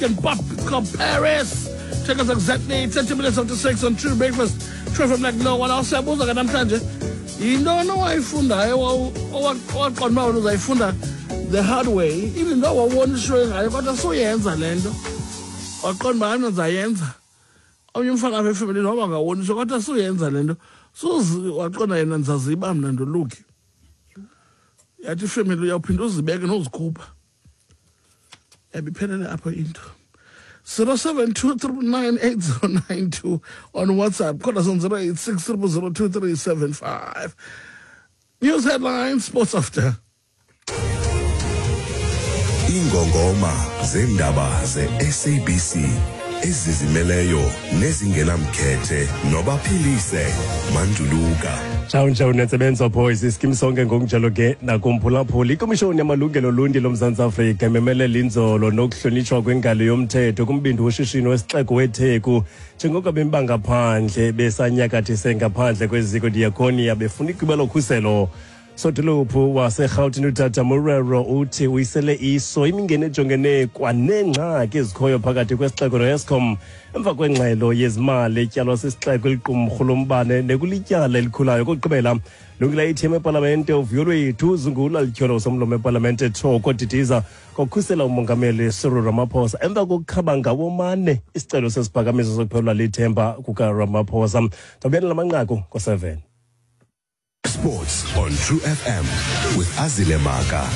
African pop. It's called Paris. Take us exactly 30 minutes after 6 on True Breakfast. True from like no one else. Siyabuza ke namhlanje. Yintoni owayifundayo owaqonda uba wena uzayifunda the hard way, even though wawuboniswe ngayo, kodwa suyenza le nto. Waqonda uba mna ndizayenza. Omnye umfana apha efemelini waba ngawoniswa, kodwa suyenza le nto. Suzi waqonda yena, ndizaziba mna ndoluki. Yathi ifemeli uyawuphinda uzibeke nozikhupha. Yabiphelele apho into. 072 on WhatsApp. Call us on 086 0002375. News headlines, sports after. Ingongoma zeendaba ze-SABC ezizimeleyo nezingenamkhethe nobaphilise Manduluka. Tshawu ntshawu nentsebenzo boys, iskim sonke ngokunjalo ke nakumphulaphuli. Ikomishoni yamalungelo oluntu loMzantsi Afrika imemelela inzolo nokuhlonitshwa kwengalo yomthetho kumbindi woshishino wesixeko weTheku, njengoko abemi bangaphandle besanyakathise ngaphandle kweziko Diakonia befuna igwiba lokhuselo. Sodolophu waseRhawutini uTata Morero uthi uyisele iso imingeni ejongene kwaneengxaki ezikhoyo phakathi kwesixeko noEskom emva kwengxelo yezimali etyalwa sisixeko eliqumrhu lombane nekulityala elikhulayo. Kokugqibela, lungile ithema epalamente uvuyo lwethu zungula lityholo somlomo epalamente Thoko Didiza kokhusela umongameli Cyril Ramaphosa emva kokukhaba ngawomane isicelo sesiphakamiso sokuphelelwa lithemba kukaRamaphosa. Ndabuyela lamanqaku ngo-7. Sports on True FM with Azile Maka.